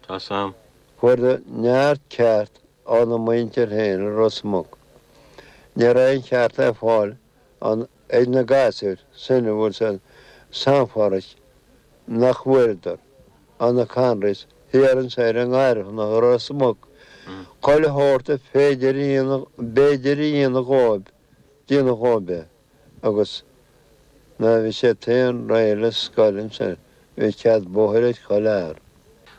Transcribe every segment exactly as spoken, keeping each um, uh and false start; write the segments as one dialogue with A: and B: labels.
A: Tá 's a'm.
B: Fuaireadar neart ceart óna muintir féin i Ros Muc. Ní raibh aon cheart le fáil ann ag na gasúir sin an bhfuil 's a'd San Phádraig nach bhfuaireadar ó na Connerys thiar anso ar an nGairfeanach i Ros Muc. Chuile shórt a féidir a dhéanamh, b'fhéidir a dhéanamh dhóibh, déanadh dhóibh é agus nuair a bhí siad féin réidh le scoil ansin bhí cead bóthair ag chuile fhear.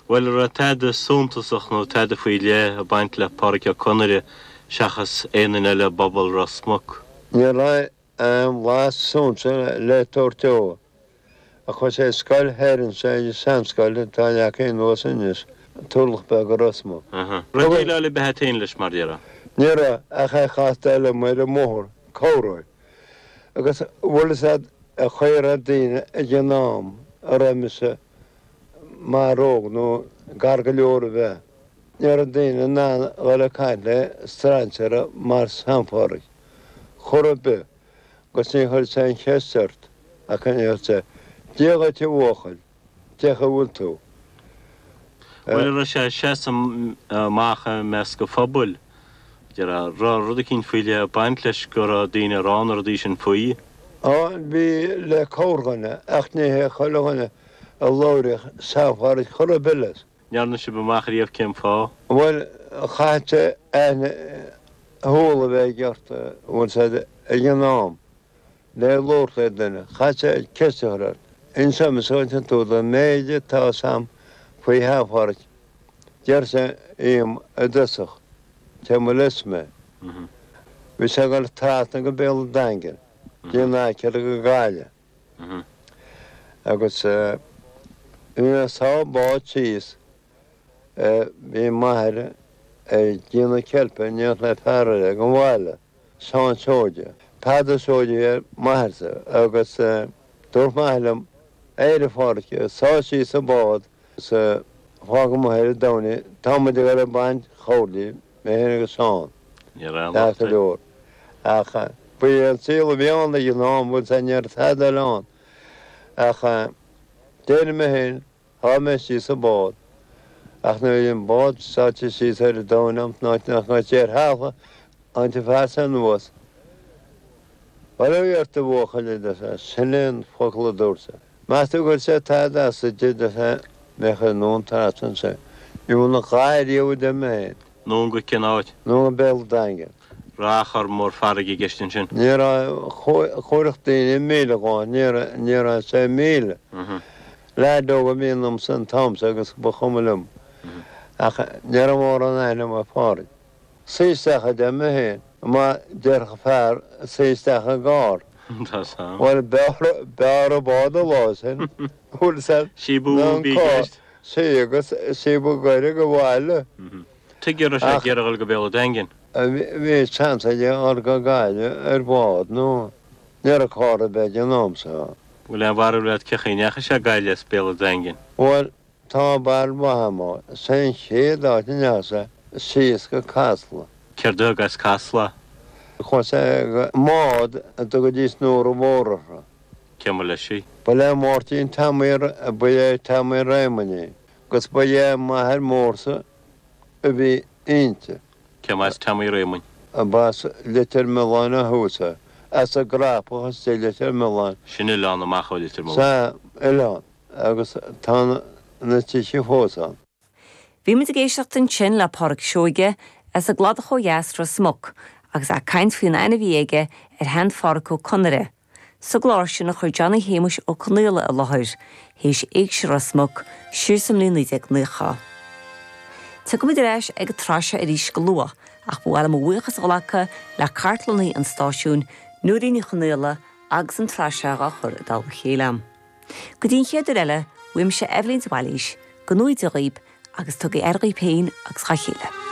A: Bhuel, an raibh tada suntasach nó tada faoi leith ag baint le Pádraic Ó Conaire seachas aon duine eile i bpobal Ros Muc?
B: Ní raibh aon bhlas suntais le tabhairt dó. Ach chuaigh sé ar scoil thoir anso ag an seanscoil atá leagtha anuas anois, Turlach Beag i Ros Muc.
A: Raibh déileáil ar bith a't féin leis, mar déarfá?
B: Ní raibh, ach é chastáil liom ar an mbóthar, corruair. Agus bhfuil fhios a'd an chaoi a raibh daoine ag an am a raibh mise mar óg nó gar go leor a bheith. Ní raibh daoine in ann a dhul ag caint le strainséara mar San Phádraig chor ar bith agus ní chuirfeadh sé aon cheist ort ach an ndéarfadh sé, Dia dhuit a bhuachaill, cén chaoi a bhfuil tú?
A: Bhuel, an raibh sé ag seasamh amach i measc an phobail, déarfá, raibh rud eicínt faoi leith ag baint leis go raibh daoine ag rá na rudaí sin faoi?
B: Á, bhí le corrdhuine, ach ní hé chuile dhuine a labhraíodh San Phádraig chor ar bith leis.
A: ndearna sibh amach riamh cén fáth?
B: Bhuel, chaithfeadh sé aithne shúl a bheith ort, an bhfuil 's a'd, ag an am. Le labhairt le duine, chaithfeadh sé ceist a chur ort. Inseoidh mise dhuit an t-údar an méid atá 'fhios a'm faoi Shean Phádraic. Deir sé dhíom i dtosach, cé mba leis mé. Bhí sé ag dul trasna go Béal an Daingin, dtí an aicearra go Gaillimh. Agus bhí mé ag sá bád síos, bhí m'athair ag déanamh ceilpe in éineacht le fear eile ag an bhaile. Seán Seoige. Peadar Seoige a bhí ar m'athairse agus dúirt m'athair liom, Éirigh a Phádraic, sáigh síos an bád is fág amuigh ar an domhain tá muid ag dul ag baint choirlí, mé féin agus Seán.
A: Ní raibh aon locht
B: Ceart go
A: air.
B: leor. Ach ba é an saol a bhí ann ag an am, bhfuil 's a'd, ní raibh tada eile ann. Ach d'éirigh mé féin Sháigh mé síos an bád, ach nuair a bhí an bád sáite síos ar an domhain a'm san áit nach raibh sé ar thalamh, tháinig an fear sin anuas. Bail ó Dhia ort a bhuachaill, a deir sé, sin é an focal a dúirt sé. Meas tú go gcuirfeadh sé tada as duit, a deir sé, mé a chur anonn trasna ansin. Ní bhfuair a dhath ariamh, a deir mé féin.
A: Anonn go cén áit?
B: Anonn go Béal an Daingin.
A: Raibh achar mór farraige i gceist ansin.
B: Ní raibh, chuirfeadh daoine míle dhó, ní raibh, ní raibh sé míle. Leaid óg a bhí ionamsa an t-am so agus ba chuma liom. Ach ní raibh mórán aithne agam ar Phádraig. Suigh isteach a deir mé féin, mar déarfadh fear suigh isteach i gcarr. Bhuel b'fhearr an bád an lá sin, bhfuil 's a'd,
A: Síobadh
B: ná
A: a
B: an
A: bhí i
B: carr.
A: gceist.
B: Sea, agus síobadh goire go bhaile.
A: Tuige a raibh sé ag iarraidh a dhul go Béal an Daingin?
B: Bhí seans aige a dhul go Gaillimh ar bhád nó ní raibh carr ar bith ag an am so.
A: Bhfuil aon bharúil agat cén chaoi a ndeachaigh sé Gaillimh as Béal an Daingin?
B: Bhuel, tá barúil mhaith a'm, is é an chéad áit a ndeachaigh sé síos go Casla.
A: Céard a thug as Casla?
B: Chuaigh sé go mbád a dtugaidís Nóra Mhór uirthi.
A: Cé mba leis í?
B: Ba le Máirtín Teamaí, ba é Teamaí Réamoinn í, agus ba é m'athair mórsa a bhí inti.
A: Cé as Teamaí Réamoinn?
B: Ba as Leitir Mealláin ó thús é. As an gCrapach istigh i Leitir Mealláin.
A: Sin oileán amach ó Leitir Mealláin.
B: Sea, oileán. Agus tá na tithe fós ann.
C: Bhí muid ag éisteacht ansin le Pádraic Seoige as an gCladach ó dheas, Ros Muc, agus é ag caint faoin aithne a bhí aige ar shean-Phádraic Ó Conaire, sa gclár sin a chuir Johnny Shéamuis Ó Conaola i láthair, théis Éigse Ros Muc, siar sa mbliain naoi déag naocha. Tiocfaimid ar ais ag an tsraith seo arís go luath, ach ba mhaith liom mo bhuíochas a ghlacadh le cartlannaí an stáisiúin, Nóirín Ní Chonaola, agus an tsraith seo á chur i dtoll a chéile. Go dtí an chéad uair eile, uaimse Eibhlín de Bhailís, go ngnóthaí Dia dhaoib agus tugaigí aire dhaoib féin agus dhá chéile.